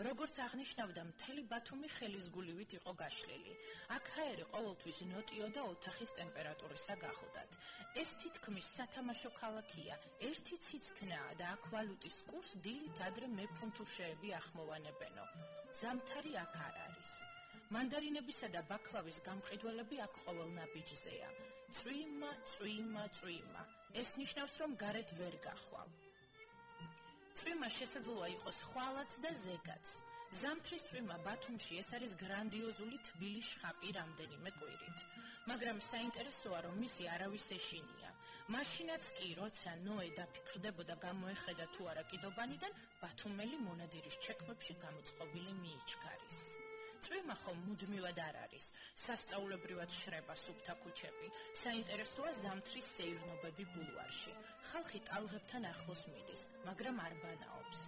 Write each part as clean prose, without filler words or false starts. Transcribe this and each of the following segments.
როგორც აღნიშნავდა, მთელი ბათუმი ხელისგულივით იყო გაშლილი. აქ ჰაერი ყოველთვის ნოტიო და ოთახის ტემპერატურისა გახლდათ. ეს თითქმის სათამაშო ქალაქია. ერთი ციცქნაა და აქ ვალუტის კურსს დილით ადრე მეფუნთუშეები ახმოვანებენო. ზამთარი აქ არ არის. მანდარინებისა და ბაკლავის გამყიდველები აქ ყოველ ნაბიჯზეა. წვიმა. ეს ნიშნავს, რომ გარეთ ვერ გახვალ. წვიმა შესაძლოა იყოს ხვალაც და ზეგაც. ზამთრის წვიმა ბათუმში ეს არის გრანდიოზული თბილი შხაპი რამდენიმე კვირით. მაგრამ საინტერესოა, რომ მისი არავის ეშინია. მაშინაც კი, როცა ნოე დაფიქრდებოდა გამოეხედა თუ არა კიდობანიდან, ბათუმელი მონადირის ჩექმებში გამოწყობილი მიიჩქარის. წვიმა ხომ მუდმივად არ არის. სასწაულებრივად შრება სუფთა ქუჩები. საინტერესოა ზამთრის სეირნობები ბულვარში. ხალხი ტალღებთან ახლოს მიდის, მაგრამ არ ბანაობს.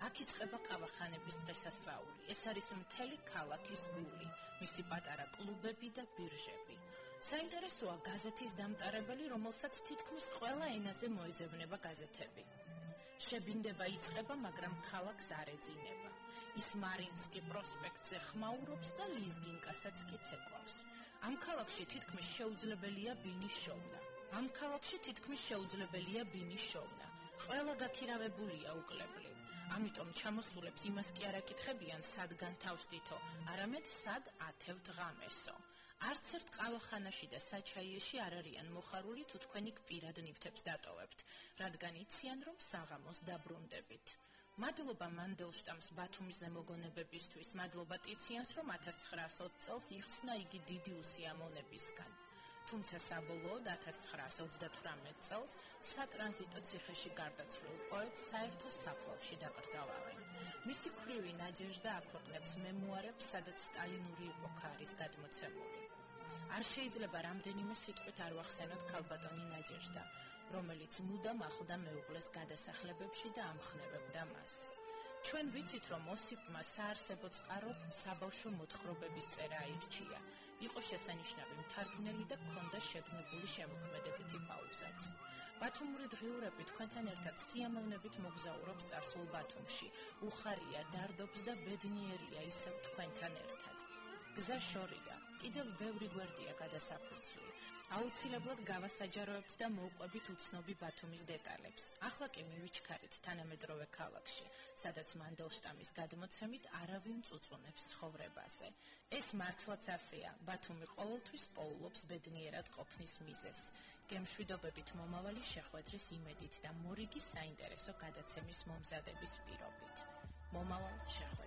აქ იწყება ყავახანების დღესასწაული. ეს არის მთელი ქალაქის გული, მისი პატარა კლუბები და ბირჟები. საინტერესოა გაზეთის დამტარებელი, რომელსაც თითქმის ყველა ენაზე მოეძებნება გაზეთები. შებინდება იწყება, მაგრამ ქალაქს არ ეძინება. ის მარინსკი პროსპექტზე ხმაურობს და ლიზგინკასაც კი ცეკვავს. ამ ქალაქში თითქმის შეუძლებელია ბინის შოვნა. ყველა გაქირავებულია უკლებლივ. ამიტომ ჩამოსულებს იმას კი არ აკითხებიან, სად განთავსდითო, არამედ სად ათევთ ღამესო. არც ერთ ყავახანაში და საჩაიეში არ არიან მოხარული, თუ თქვენი პირად ნივთებს დატოვებთ, რადგან იციან, რომ საღამოს დაბრუნდებით. მადლობა მანდელშტამს ბათუმის ზემოგონებებისთვის, მადლობა ტიციანს, რომ 1920 წელს იხსნა იგი დიდი უსიამოვნებისგან. თუმცა საბოლოოდ 1938 წელს სატრანზიტო ციხეში გარდაცვლილ პოეტს საერთო საფლავში დაკრძალავენ. მისი ქვრივი ნაჯეჟდა აქვეყნებს მემუარებს, სადაც სტალინური ეპოქა არის გადმოცემული. არ შეიძლება რამდენიმე სიტყვით არ ვახსენოთ ქალბატონი ნაჯეჟდა, რომელიც მუდამ ახლდა მეუღლეს გადასახლებებში და ამხნევებდა მას. ჩვენ ვიცით, რომ ოსიპმა საარსებო წყაროდ საბავშვო მოთხრობების წერა აირჩია. იყო შესანიშნავი მთარგმნელი და ჰქონდა შეგნებული შემოქმედებითი პაუზაც. ბათუმური დღიურები თქვენთან ერთად სიამოვნებით მოგზაურობს წარსულ ბათუმში. უხარია, დარდობს და ბედნიერია ისევ თქვენთან ერთად. გზა შორია, კიდევ ბევრი გვერდია გადასაფურცლი. აუცილებლად გავასაჯაროებთ და მოვყვებით უცნობი ბათუმის დეტალებს. ახლა კი მივიჩქარით თანამედროვე ქალაქში, სადაც მანდელშტამის გადმოცემით არავინ წუწუნებს ცხოვრებაზე. ეს მართლაც ასეა, ბათუმი ყოველთვის პოულობს ბედნიერად ყოფნის მიზეზს. გემშვიდობებით მომავალი შეხვედრის იმედით და მორიგი საინტერესო გადაცემის მომზადების პირობით. მომავალ შეხვედრას.